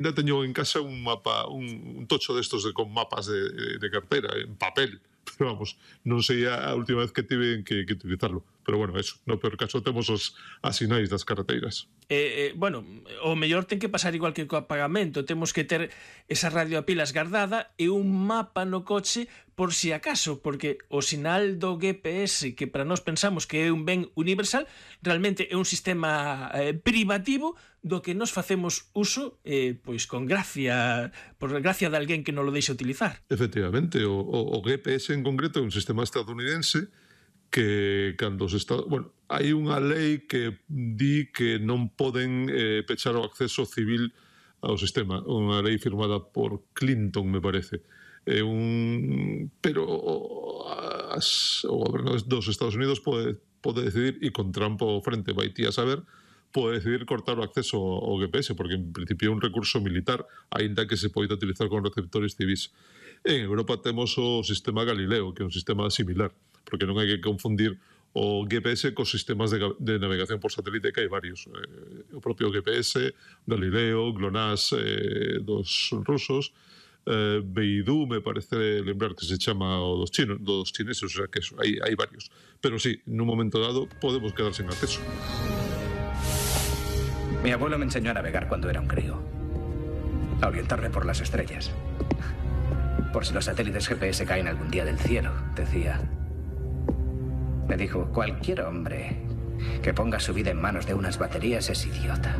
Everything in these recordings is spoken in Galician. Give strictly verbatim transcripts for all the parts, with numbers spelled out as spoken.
Ainda teño en casa un mapa, un, un tocho destos de, con mapas de, de cartera, en papel, pero vamos, non sei a última vez que tive que, que utilizarlo. Pero bueno, eso, no peor caso temos os asinais das carreteiras. Eh, eh, bueno, o mellor ten que pasar igual que co apagamento, temos que ter esa radio a pilas guardada e un mapa no coche por si acaso, porque o sinal do G P S, que para nós pensamos que é un ben universal, realmente é un sistema eh, privativo do que nos facemos uso eh, pois con gracia, por gracia de alguén que non lo deixa utilizar. Efectivamente, o, o, o G P S en concreto é un sistema estadounidense que cando os Estados... Bueno, hai unha lei que di que non poden eh, pechar o acceso civil ao sistema, unha lei firmada por Clinton, me parece. É un... Pero as, o goberno dos Estados Unidos pode, pode decidir, e con Trump ao frente, vai ti a saber, pode decidir cortar o acceso ao G P S, porque en principio é un recurso militar, aínda que se poida utilizar con receptores civis. En Europa temos o sistema Galileo, que é un sistema similar, porque non hai que confundir o G P S cos sistemas de, de navegación por satélite, que hai varios. Eh, o propio G P S, Galileo, GLONASS eh, dos rusos, eh, Beidou, me parece lembrar que se chama o dos chinos, dos chineses, o sea que eso, hai, hai varios. Pero sí, nun momento dado podemos quedar sen acceso. Mi abuelo me enseñó a navegar cuando era un crío. A orientarme por las estrellas. Por si los satélites G P S caen algún día del cielo, decía. Me dijo, cualquier hombre que ponga su vida en manos de unas baterías es idiota.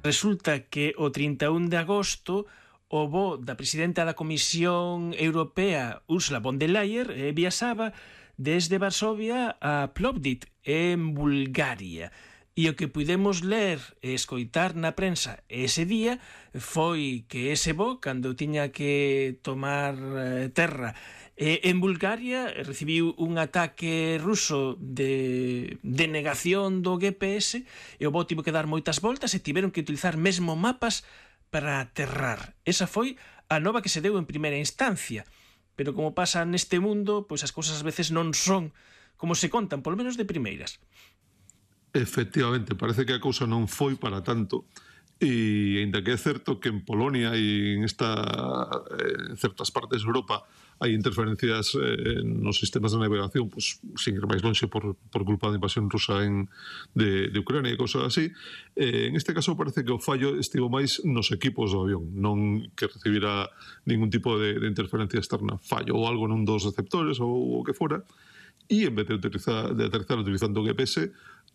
Resulta que o trinta e un de agosto o voo da presidenta da Comisión Europea, Ursula von der Leyen, eh, viaxaba desde Varsovia a Plovdiv, en Bulgaria. E o que pudemos ler e escoitar na prensa ese día foi que ese voo, cando tiña que tomar eh, terra eh, en Bulgaria, recibiu un ataque ruso de, de negación do G P S e o voo tivo que dar moitas voltas e tiveron que utilizar mesmo mapas para aterrar. Esa foi a nova que se deu en primeira instancia, pero como pasa neste mundo, pois as cousas ás veces non son como se contan, polo menos de primeiras. Efectivamente, parece que a cousa non foi para tanto, e ainda que é certo que en Polonia e en, esta, en certas partes de Europa hai interferencias eh, nos sistemas de navegación, pues, sin ir máis lonxe por, por culpa da invasión rusa en, de, de Ucrania e cousas así, eh, en este caso parece que o fallo estivo máis nos equipos do avión, non que recibira ningún tipo de, de interferencia externa. Fallo ou algo nun dos receptores ou o que fora, e en vez de, utilizar, de aterrizar utilizando o G P S,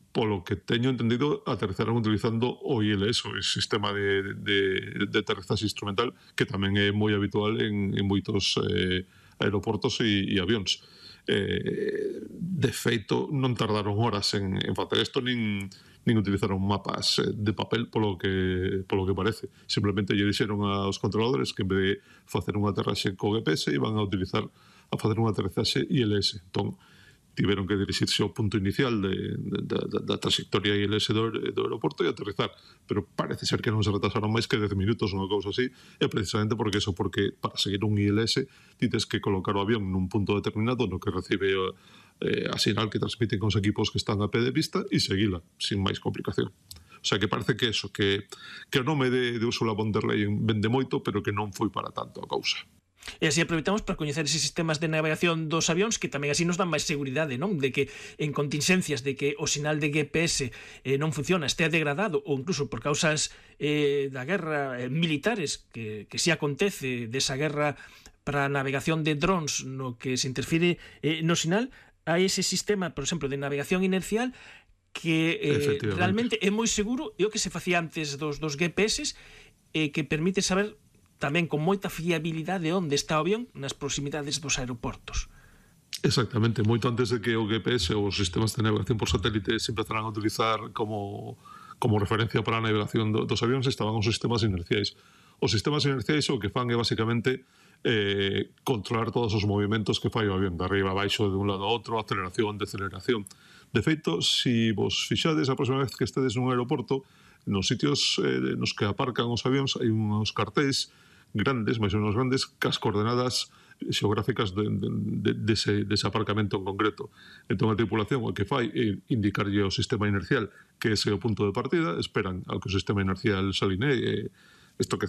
polo que teño entendido, aterrizaron utilizando o I L S, o sistema de, de, de aterrizaxe instrumental, que tamén é moi habitual en, en moitos eh, aeroportos e, e avións. Eh, de feito, non tardaron horas en, en facer isto, nin, nin utilizaron mapas de papel, polo que, polo que parece. Simplemente lle dixeron aos controladores que en vez de facer un aterraxe co G P S, iban a utilizar a facer un aterrizaxe I L S. Entón, tiveron que dirixirse ao punto inicial de, de, de, da trayectoria I L S do, do aeroporto e aterrizar, pero parece ser que non se retrasaron máis que dez minutos ou unha cousa así, e precisamente porque eso, porque para seguir un I L S tites que colocar o avión nun punto determinado no que recibe eh, a sinal que transmiten con os equipos que están a pé de pista e seguila, sin máis complicación. O sea que parece que eso, que, que o nome de, de Ursula von der Leyen vende moito, pero que non foi para tanto a cousa. E así aproveitamos para coñecer eses sistemas de navegación dos avións, que tamén así nos dan máis seguridade, non? De que en contingencias de que o sinal de G P S eh, non funciona, estea degradado, ou incluso por causas eh, da guerra eh, militares, que, que si acontece desa guerra para a navegación de drones no que se interfire eh, no sinal, hai ese sistema, por exemplo, de navegación inercial que eh, realmente é moi seguro, e o que se facía antes dos, dos G P S, eh, que permite saber tamén con moita fiabilidade onde está o avión nas proximidades dos aeroportos. Exactamente, moito antes de que o G P S ou os sistemas de navegación por satélite se empezaran a utilizar como, como referencia para a navegación do, dos avións, estaban os sistemas inerciais. Os sistemas inerciais o que fan é basicamente eh, controlar todos os movimentos que fai o avión, de arriba a baixo, de un lado a outro, aceleración, deceleración. De feito, se si vos fixades a próxima vez que estedes nun aeroporto, nos sitios eh, nos que aparcan os avións hai uns cartéis grandes, máis ou menos grandes, cas coordenadas xeográficas de, de, de, de ese, dese aparcamento en concreto. Entón a tripulación o que fai é indicarlle ao sistema inercial que ese é o punto de partida, esperan ao que o sistema inercial se alinee, isto que